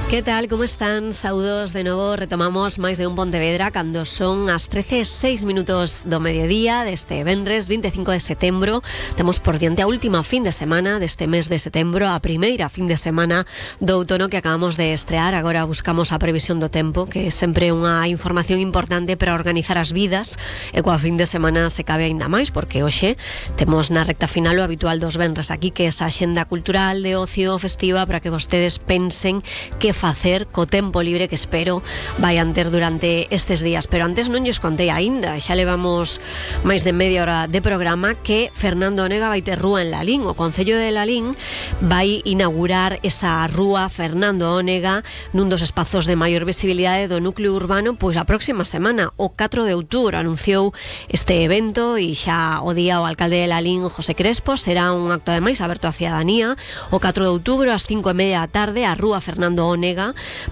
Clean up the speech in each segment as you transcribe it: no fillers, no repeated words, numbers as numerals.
Que tal, como están? Saudos de novo, retomamos máis de un Pontevedra cando son as 13:06 do mediodía deste venres 25 de setembro. Temos por diante a última fin de semana deste mes de setembro, a primeira fin de semana do outono que acabamos de estrear. Agora buscamos a previsión do tempo, que é sempre unha información importante para organizar as vidas, e coa fin de semana se cabe aínda máis, porque hoxe temos na recta final o habitual dos venres aquí, que é esa axenda cultural de ocio festiva para que vostedes pensen que facer co tempo libre que espero vayan ter durante estes días. Pero antes non lles contei aínda, xa levamos máis de media hora de programa, que Fernando Onega vai ter rúa en Lalín. O Concello de Lalín vai inaugurar esa rúa Fernando Onega nun dos espazos de maior visibilidade do núcleo urbano, pois a próxima semana, o 4 de outubro, anunciou este evento, e xa o día o alcalde de Lalín, José Crespo. Será un acto ademais aberto á cidadanía. O 4 de outubro, ás 5:30 da tarde, a rúa Fernando Onega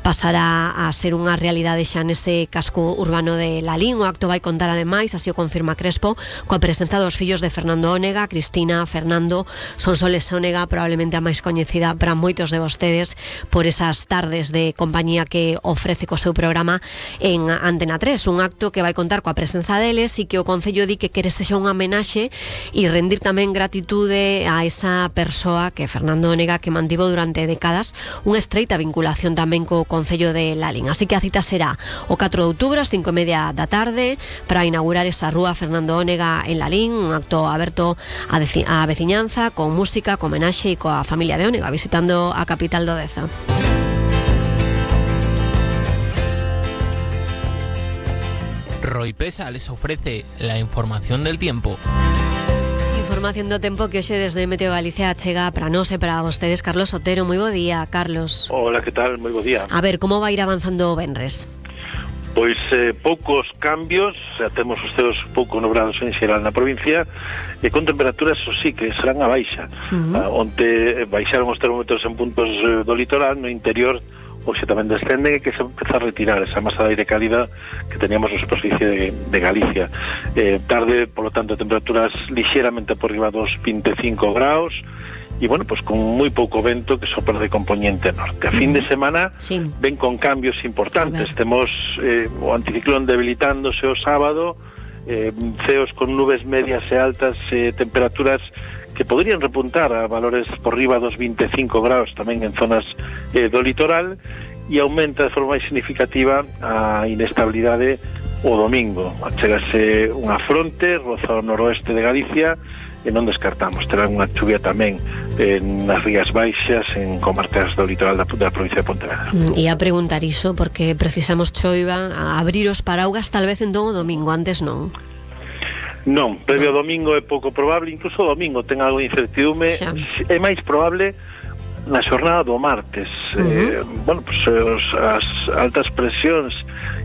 pasará a ser unha realidade xa nese casco urbano de Lalín. O acto vai contar ademais, así o confirma Crespo, coa presenza dos fillos de Fernando Onega, Cristina, Fernando, Sonsoles Onega, probablemente a máis coñecida para moitos de vostedes por esas tardes de compañía que ofrece co seu programa en Antena 3. Un acto que vai contar coa presenza deles e que o Concello di que quere sexa unha homenaxe e rendir tamén gratitude a esa persoa, que é Fernando Onega, que mantivo durante décadas unha estreita vinculación tamén co Concello de Lalín. Así que a cita será o 4 de outubro ás 5:30 da tarde para inaugurar esa rúa Fernando Onega en Lalín, un acto aberto á veciñanza, con música, con homenaxe e coa familia de Onega visitando a capital do Deza. Roipesa les ofrece la información del tiempo. Información do tempo que hoxe desde Meteo Galicia chega para nós e para vostedes. Carlos Otero, moi bo día, Carlos. Hola, que tal? Moi bo día. A ver, como vai ir avanzando o venres? Pois poucos cambios, xa temos os ceos pouco nubrados en xeral na provincia, e con temperaturas, o sí, que serán a baixa. Onte baixaron os termómetros en puntos do litoral, no interior hoxe tamén descenden, e que se empeza a retirar esa masa de aire cálida que teníamos na superficie de Galicia. Tarde, polo tanto, temperaturas lixeramente por riba dos 25 graus, e, bueno, pues con moi pouco vento que sopra de componente norte. A fin de semana ven con cambios importantes. Temos o anticiclón debilitándose o sábado, ceos con nubes medias e altas, temperaturas que podrían repuntar a valores por riba dos 25 graus tamén en zonas do litoral, e aumenta de forma máis significativa a inestabilidade o domingo. Chegase unha fronte roza o noroeste de Galicia, e non descartamos terán unha chuvia tamén nas rías baixas en comarcas do litoral da provincia de Pontevedra. E a preguntar iso porque precisamos choiva, a abrir os paraugas tal vez entón o domingo, antes non. Non, previo ao domingo é pouco probable, incluso o domingo ten algo de incertidume, é máis probable na xornada do martes. Bueno, pues as altas presións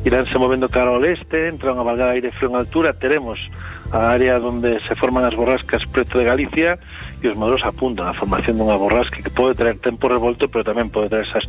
iránse movendo cara ao leste, entra unha valgada de aire frío en altura, teremos a área onde se forman as borrascas preto de Galicia, e os modelos apuntan a formación dunha borrasca que pode traer tempo revolto, pero tamén pode traer esas